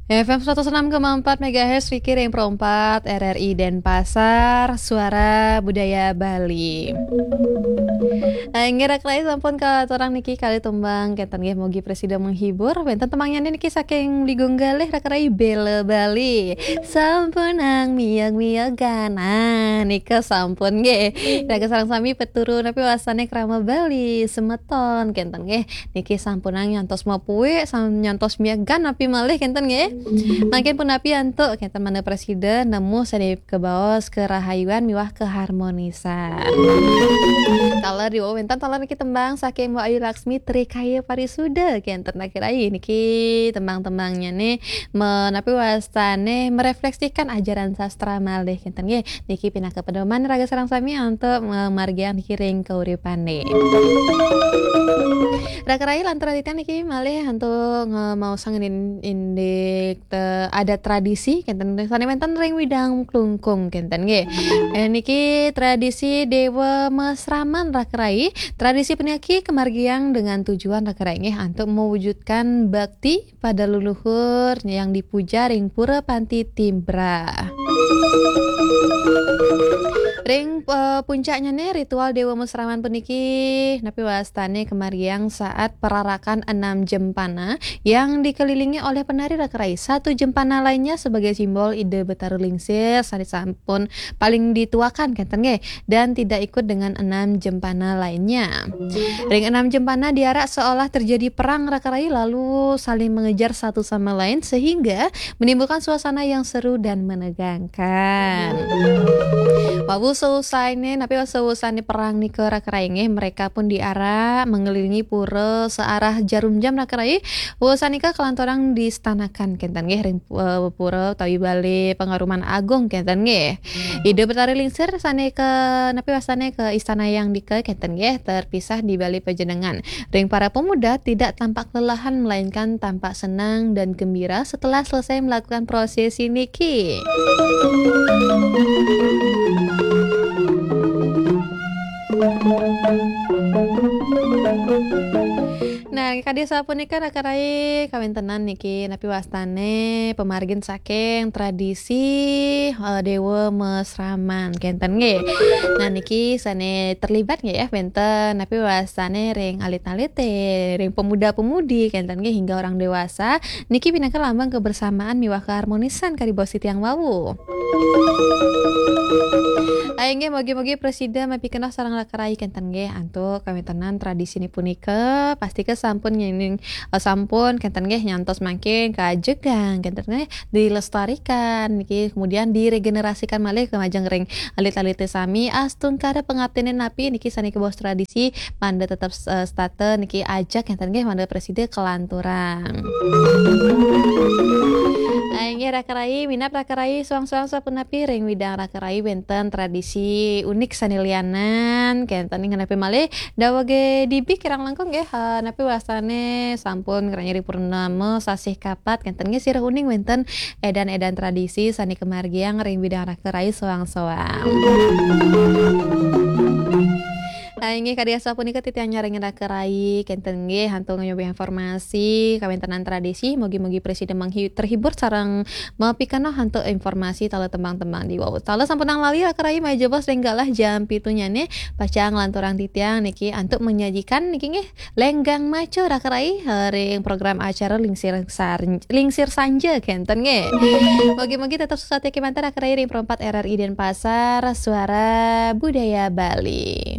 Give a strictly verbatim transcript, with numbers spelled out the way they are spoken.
F M seratus enam koma empat megahertz, Fikir yang perempat, R R I Denpasar, Suara Budaya Bali. Inggih, Raka Rai, sampun katurang niki kalih tembang, kenten nggih, mugi prasida menghibur. Wenten tembangnya niki saking Ligung Galih, Raka Rai, Bela Bali. Sampunang miag-miagan. Nah, nika sampun nggih. Raga sareng sami peturu napi wastane krama Bali, semeton, kenten nggih. Niki sampunang nyantos mapuik, sam-, nyantos miagan napi malih, kenten nggih. Mangkin punapi antuk kenten mangda prasida nemu sane kabaos kerahayuan miwah keharmonisan. Taler di wenten taler niki tembang saking Mbok Ayu Laksmi, Trikaya Parisuda, kenten, Raka Rai. Niki tembang-tembangnya nih menapi wastane merefleksikan ajaran sastra malih, kenten nggih. Niki pinaka pedoman raga sareng sami antuk memargiang niki ring kauripane. Raka Rai, lanturang titiang niki malih antuk ngemaosang indin-, indik te-, adat tradisi, kenten, sane wenten ring Widang Klungkung, kenten nggih. Eh, niki tradisi Dewa Mesraman, Raka Rai. Tradisi puniki kemargiang dengan tujuan, Raka Rai, nggih, antuk mewujudkan bakti pada leluhur yang dipuja ring Pura Panti Timbra. Ring, eh, puncaknya nih, ritual Dewa Mesraman puniki napi wastane kemargiang saat perarakan enam jempana yang dikelilingi oleh penari, Raka Rai. Satu jempana lainnya sebagai simbol Ida Betara Lingsir sane sampun paling dituakan, kenten nggih, dan tidak ikut dengan enam jempana lainnya. Ring enam jempana diarak seolah terjadi perang, Raka Rai, lalu saling mengejar satu sama lain sehingga menimbulkan suasana yang seru dan menegangkan. Wau seusaine, napi wau seusaine perang nika, Raka Rai, nggih, mereka pun diarak mengelilingi pura searah jarum jam, Raka Rai. Wau sanika kalanturang distanakan, kenten nggih, ring, eh, pura utawi bale pangaruman agung, kenten nggih. Ida Betari Lingsir sane ke, napi wastane, ke istana yang dike, kenten nggih, terpisah di bale panjenengan. Ring para pemuda tidak tampak kelelahan melainkan tampak senang dan gembira setelah selesai melakukan prosesi niki. Nah, kadi sapunika, Raka Rai, kawentenan niki napi wastane pamargin saking tradisi, eh, Dewa Mesraman, kenten nggih. Nah, niki sane terlibat nggih ya, wenten napi wastane ring alit-alite, ring pemuda-pemudi, kenten nggih, hingga orang dewasa. Niki pinaka lambang kebersamaan miwah keharmonisan kadi bos titiang wau. Inggih, mugi-mugi prasida mapikenoh sareng Raka Rai, kenten nggih, antuk kawentenan tradisine punika, pastika sampun nyening, eh, sampun, kenten nggih, nyantos mangkin kajegang, kenten nggih, dilestarikan niki, kemudian diregenerasikan malih ka majeng ring alit-alite sami, astungkara pangaptine napi niki sane kabaos tradisi, mangda tetep, eh, setata niki ajak, kenten nggih, mangda prasida kalanturang. Ah, inggih, Raka Rai, minab Raka Rai, soang-soang sapunapi ring widang Raka Rai wenten tradisi unik sane lianan, kenten nggih, napi malih dawege dibi kirang langkung nggih, eh, napi wastane sampun ngranyiri purnama sasih kapat, kenten nggih, sirah uning wenten edan-edan tradisi sane kamargiang ring widang Raka Rai soang-soang. Ah, inggih, kadi asapunika titiang nyarengin Raka Rai, kenten nggih, antuk nyobi informasi kawentenan tradisi, mugi-mugi prasida manghi-, terhibur sareng mapikenoh antuk informasi taler tembang-tembang di wau. Taler sampunang lali Raka Rai, malih jebos ring galah jam pitu nyane, pacang lanturang titiang niki antuk menyajikan niki nggih, Lenggang Maco, Raka Rai, eh, ring program acara Lingsir Sar-, Lingsir Sanja, kenten nggih. Mugi-mugi tetep sukses kemanten, Raka Rai, ring perempat R R I Denpasar, Suara Budaya Bali.